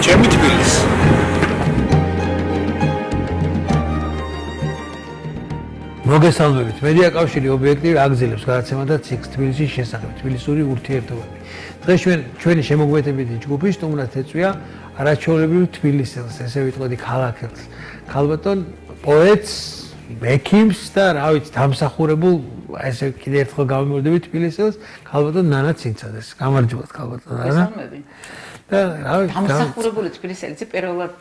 ჩემი თბილისი. მოგესალმებით. მედია კავშირი ობიექტივი აგზელებს გადაცემა და ციკლს თბილისის შესახებ, თბილისური ურთიერთობები. დღეს ჩვენი შემოგვეთებითი ჯგუფი სტუმრად ეწვია არაჩვეულებრივ თბილისელს, ესე ვიტყოდი ქალაქელს. ქალბატონ პოეტს, ექიმს და რა ვიცი, დამსახურებულ ესე კიდევ ერთხელ გავიმეორდები თბილისელს, ქალბატონ ნანა ცინცაძეს. გამარჯობათ ქალბატონ ნანა. და რა ვიცი, დამსახურებული თბილისელიც პირველად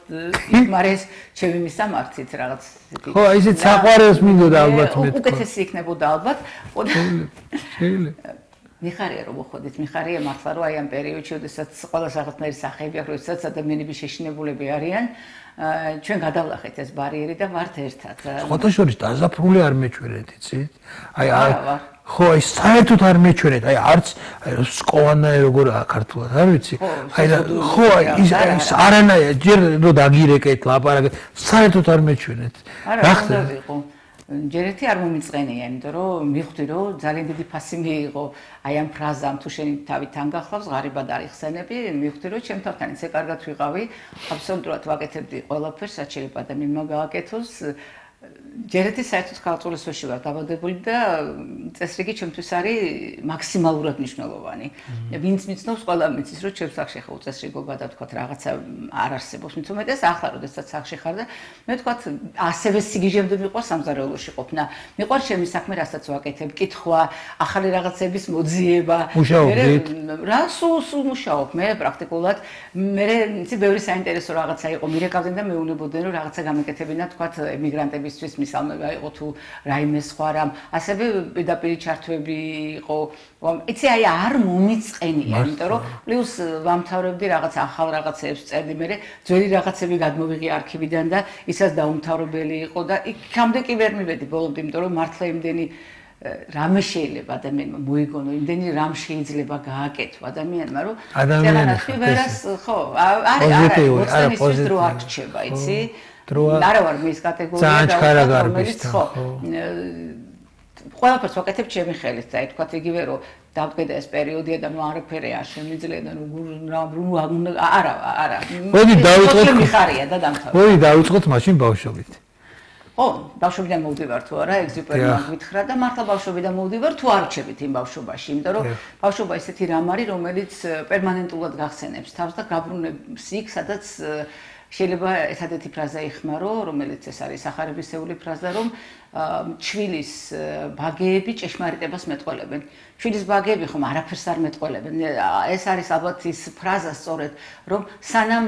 მარე ჩემი მისამართით რაღაც ხო, ისეთ საყვარელს მინდოდა ალბათ მე. უკეთესი იქნებოდა ალბათ. შეიძლება. მიხარია რომ მოხდით, მიხარია მართლა რომ აი ამ პერიოდში, როდესაც ყველა სახელმწიფო სახეები აქვს, როდესაც ადამიანები შეშინებულები არიან, ჩვენ გადავლახეთ ეს ბარიერი და ვართ ერთად. ფოტოშორის დაზაფრული არ მეჩვენეთ, იცით? აი ხო, აი საერთოდ არ მეჩვენეთ, აი არც სკოვანაე როგორაა ქართულად, არ ვიცი. აი ხო, ის არანაირ ჯერ რო დაგირეკეთ, ლაპარაკეთ, საერთოდ არ მეჩვენეთ. რა ხდება? ჯერ ერთი არ მომიწყენია, იმიტომ რომ მივხვდი რომ ძალიან დიდი ფასი მიიღო აი ამ ფრაზამ თუ შენი თავი თან გახლავს, ღარიბად არ იხსენები, მივხვდი რომ ჩემ თავთან ისე კარგად ვიყავი, აბსოლუტურად ვაკეთებდი ყველაფერს, რაც შეიძლება ადამიანმა გააკეთოს. ჯერ ერთი საერთოდ ქალწულისში ვარ დაბადებული და წესრიგი ჩემთვის არის მაქსიმალურად მნიშვნელოვანი. ვინც მიცნობს, ყველა მიცის, რომ ჩემს სახში ხო წესრიგობა და თქვა რაღაცა არ არსებობს. მით უმეტეს ახლა როდესაც სახში ხარ და მე თქვა ასევე სიგიჟემდე მიყვარს სამზარეულოში ყოფნა. მიყვარს ჩემი საქმე, რასაც ვაკეთებ, კითხვა, ახალი რაღაცების მოძიება. მუშაობდით? რა სულ მუშაობ მე პრაქტიკულად. მე იცი ბევრი საინტერესო რაღაცა იყო, მირეკავდნენ და მეუნებოდნენ რომ რაღაცა გამეკეთებინა თქვა ემიგრანტების მისალმება იყო თუ რაიმე სხვა რამ ასევე პირდაპირ ჩართვები იყო იცი აი არ მომიწყენია იმიტომ რომ პლუს ვამთავრებდი რაღაც ახალ რაღაცებს წერდი მე ძველი რაღაცები გადმოვიღე არქივიდან და ისაც დაუმთავრებელი იყო და იქამდე კი ვერ მივედი ბოლომდე იმიტომ რომ მართლა იმდენი რამე შეიძლება ადამიანმა მოიგონო იმდენი რამ შეიძლება გააკეთო ადამიანმა რომ ადამიანის ხო არის პოზიტივი არ რჩება იცი არა ვარ მის კატეგორია და რომელიც ხო ყველაფერს ვაკეთებ ჩემი ხელით და თქვა იგივე რომ დავდგედა ეს პერიოდია და ნუ არაფერი არ შემიძლია და არა მოდი დავიწყოთ მიხარია და დამთავრდა მოდი დავიწყოთ მაშინ ბავშვობით ხო ბავშვობიდან მოვდივარ თუ არა ეგზიპერიმენტ გითხრა და მართლა ბავშვობიდან მოვდივარ თუ არ რჩებით იმ ბავშვობაში იმიტომ რომ ბავშვობა ისეთი რამ არის რომელიც პერმანენტულად გახსენებს თავს და გაბრუნებს იქ სადაც შეიძლება ესადეთი ფრაზა იხმარო, რომელიც ეს არის სახარებისეული ფრაზა, რომ ჩვილის ბაგეები ჭეშმარიტებას მეტყველებენ. ჩვილის ბაგეები ხომ არაფერს არ მეტყველებენ. ეს არის ალბათ ის ფრაზა სწორედ, რომ სანამ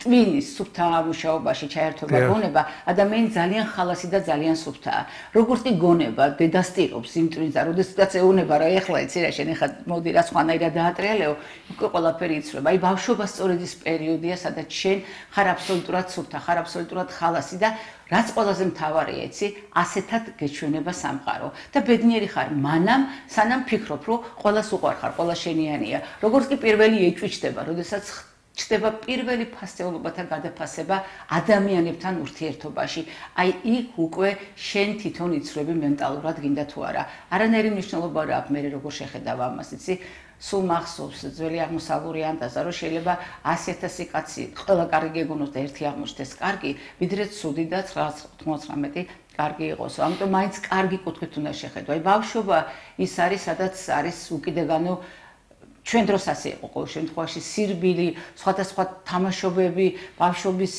ტვინის სუფთა მუშაობაში ჩაერთვება გონება, ადამიანი ძალიან ხალასი და ძალიან სუფთაა. როგორც კი გონება დედასტირობს იმ ტვინს და როდესაც ეუნება რა ეხლა იცი რა შენ ეხლა მოდი რა სხვანაირად დაატრიალებო, უკვე ყველაფერი იცრება. აი ბავშვობა სწორედ ის პერიოდია, სადაც შენ ხარ აბსოლუტურად სუფთა, ხარ აბსოლუტურად ხალასი და რაც ყველაზე მთავარია, იცი, ასეთად გეჩვენება სამყარო და ბედნიერი ხარ მანამ, სანამ ფიქრობ, რომ ყველას უყვარ ხარ, ყველა შენიანია. როგორც კი პირველი ეჭვი ჩდება, როდესაც ჩდება პირველი ფასეულობათა გადაფასება ადამიანებთან ურთიერთობაში. აი იქ უკვე შენ თვითონ იცრები მენტალურად გინდა თუ არა. არანაირი მნიშვნელობა რა აქვს მე როგორ შეხედავ ამას, იცი? სულ მახსოვს ძველი აღმოსავლური ანტაზა რომ შეიძლება 100,000 კაცი ყველა კარგი გეგონოს და ერთი აღმოჩნდეს კარგი, ვიდრე ცუდი და 99 კარგი იყოს. ამიტომ მაინც კარგი კუთხით უნდა შეხედო. აი ბავშვობა ის არის, სადაც არის უკიდეგანო ჩვენ დროს ასე იყო ყოველ შემთხვევაში სირბილი, სხვადასხვა თამაშობები, ბავშვობის